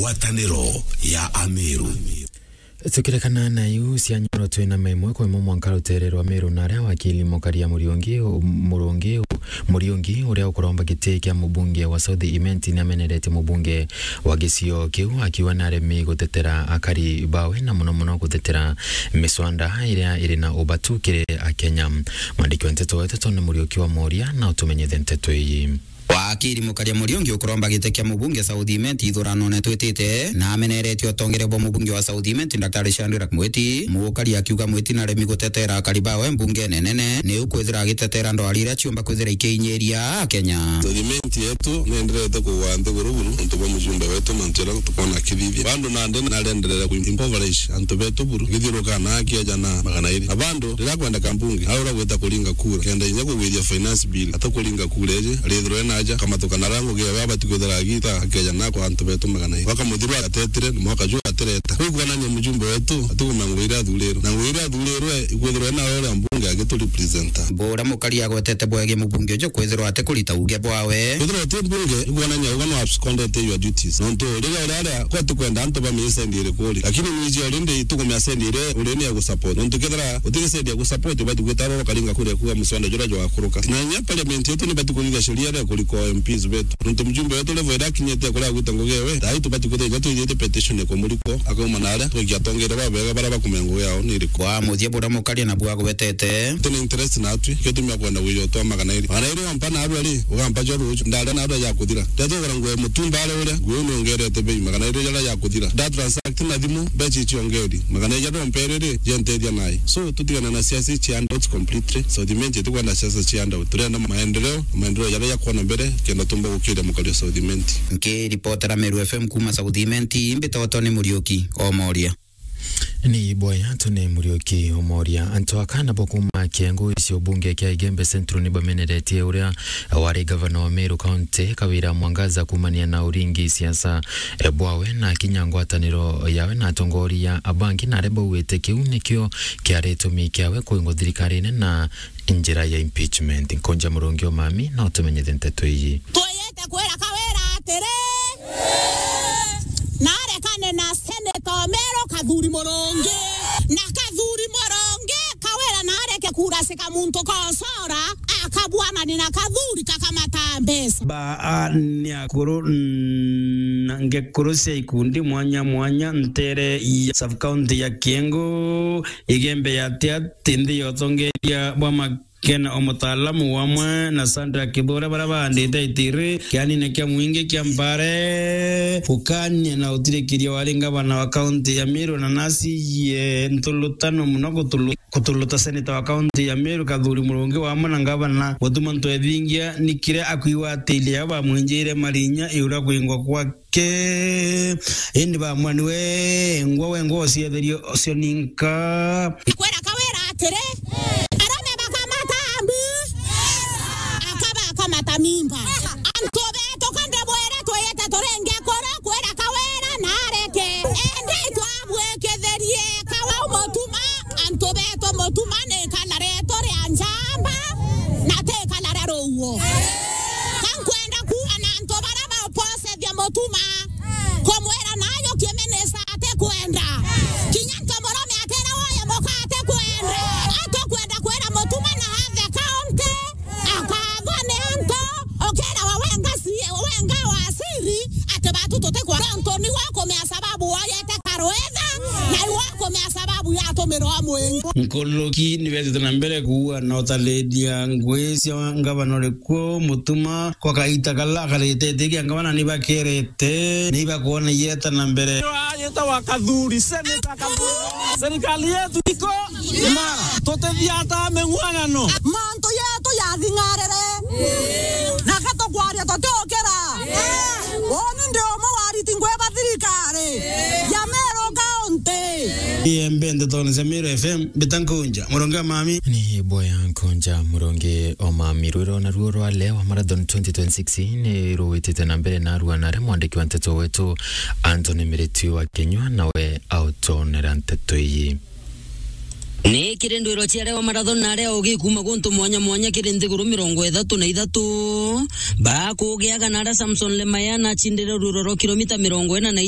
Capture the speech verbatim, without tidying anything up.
Ngwataniro ya Ameru. Tukirekana na iu cia nyoro, twina maimwe kwa imwe mwanka rutere rwa Meru na aria wakili Mukaria Muriungi, Murungi, Muriungi, uria ukuromba giti kia mubunge wa South Imenti, ni ameneretie mubunge wa gicio kiu, akiuga ni aremi gutetera akari bawe na muno muno gutetera miswanda iria iri na ubatu kiri Akenya. Mwandiki wa nteto wetu Tony Muriuki wa Moria na utumenyithie nteto ii. Wakiri Mukaria Muriungi ukuromba giti kia mubunge South Imenti ithuranone twitite, na ameneretie utongeria bwa mubunge wa South Imenti Daktari Shadrack Mwiti. Mukaria akiuga Mwiti naremi gutetera akari bawe mbungene nene, ni ukwithira agitetera ndwari iria ciumba kwithira ikiinyiria Akenya. South Imenti yetu nienderete kugwa nthiguru buru nontu bwa mujumbe wetu, mantu jaria tukona akithithia. Bado nandi narenderera ku impoverish antu betu buru, akithiuruka na akieja na magana iri. Na bado riria kwendeka mbunge, aura gwita kuringa kura, kenda inya kugwithia finance bill, atakuringa kura iji, arithirwe naja, akamathuka na rango gia baba tikwithira agita, akeja na kwa antu betu magana iri. Bakamuthirwa atetire, na mwaka juu atireta. Riu kwonania mujumbe wetu, atikumenya ngugi iria athurirwe. Na ngugi iria athurirwe, ikwithirwa na uria mbunge agiturepresenta. Buria Mukaria agwetete bwegi mubunge uju kwithirwa atikurita uge bwawe. Kwithirwa uti mbunge, ikwonania uga no abscondete your duties. Nontu riria uraria, kwa tikwenda antu bamie sendi iriku ri. Lakini nwiji already itukumia sendi iria uri ni ya gusupport. Nontu kethira utiri sendi ya gusupport, ubati gwita roro karinga kuria kuga muswanda juria jwakuruka. Na inya parliament yetu nibati kuthithia sheria iria ikurika M Ps betu. Nontu mjumbe wetu level iria akinyite kuria agwita ngugi ewe, thai tubati kuthithia twithite petition ya kumurikwo, akauma na aria, tugikia atongeria babega baria bakumenya ngugi yao ni iriku. Kwa muthia buria Mukaria nabu agwetete. Tuna interest natwi, kio tumia kwenda gwija utwa magana iri. Magana iri wampa narua ri, ugampa jo ruju, ndaria narua ya kuthira. Ndeto kugura nguo ya mutumba aria uria, nguo ino ngerete bei, magana iri jaria ya kuthira. Nda transact na thimu, mbeca icio ngeri. Magana iri jaria umpere ri, jentethia nayo. So, tutigana na siasa cia handouts completely. South Imenti itikwenda siasa cia handout. Turenda maendeleo, maendeleo jaria jakwona mbere, kenda tumba gukiria Mukaria South Imenti. Nkiripotera Meru F M kuma South Imenti, mbitagwa Tony Muriuki, o Moria. Ni boya Tony Muriuki, o Moria. Antu aka nabo kuma kiengo icio bunge kia Igembe Central ni bameneretie uria wari gavana wa Meru County, Kawira Mwangaza, kumania na uringi siasa, e, bwawe na kinya ngwataniro yawe na atongoria abangi, na aria baugite kiu nikio kiari gitumi kiawe kuingwa thirikarine na njira ya impeachment. Nkonja Murungi o Mami, no tumenyithie nteto iji. Twiyite kwira Kawira atiri, narekane na Senator Omeru Kathuri Murungi. Na Kathuri Murungi, Kawira nareke kurasika muntu konsora, akabwanani na Kathuri kakamata mbeca. Ba a ni akuru na ngekuru cia ikundi mwanya mwanya ntere ya sub-county ya Kiengo, Igembe ya Tiati, nthi ya utongeria bwa ma- Kena o mutaalamu wamwe na Sandra Kithure, baria baandite itiri kianine kia mwingi kia Mbare, gukania na utirikiria wari ngavana wa kaunti ya Meru na nasi ye ntulutano muno kutulu-, kutuluta seneta wa kaunti ya Meru Kathuri Murungi wamwe na ngavana Mutuma Ntwethingia nikire akwigwatiria bamwinjire marinya iura kwingwa kwa ke. Indi bamwani we ngwa we ngwa ucietherie ucio ninka. Kwira Kawira atiri, arume bakamata mbi, akaba akamata mimba. Antu betu kande bwire twiyite turinge kuru kwira Kawira na areke. Indi twabwikithirie kawa Mutuma, antu betu Mutuma ni kana retu ria njamba na ti kana ria ruuo. Ka nkwenda kuuga na antu baria baupose thia Mutuma, kumwira nayo kiminista atikwenda. Kinya ntomurume akira woye muka atikwenda. Atukwenda kwira Mutuma na athe kaunti, akathwa ni antu, ukirawa wenga si-, wenga wa siri, ati batu tutikwenda. Nontu niwe ukumea sababu woyete karwitha, na iwe ukumea sababu yatumirwa mwingi. Nkuluki nibetite na mbere kuua na utaledia ngui cia ngavana urikuo Mutuma. Kwa kaita kala akaretete kia ngavana nibakerete, nibakwona ieta na mbere. Ayetawa Kathuri, Senator Kathuri. Serikali yetu iko imara. Tutithiata meng'wang'ano. Mantu yetu yathing'arire. Na gatukwaria tutiukira. Uni ndi umwe wa ariti ngui ba thirikari ya Meru County. Iembe ntetone cia Meru F M, mbita Nkunja Murungi o Mami. Ni boya Nkunja Murungi o Mami. Rwiro naruo rwa Lewa Marathon twenty twenty-six ni ruwitite na mbere, na arua nare mwandiki wa nteto wetu Anthony Miriti wa Kinyua nawe autonera nteto iyi. Ni kiri ndwiro cia Lewa Marathon na aria ugi kuma guntu mwanya mwanya kiri nthiguru mirongo ithatu na ithatu, bakugiaga na aria Samson Lemaya na acindire rwiro rwa kilomita mirongo ina na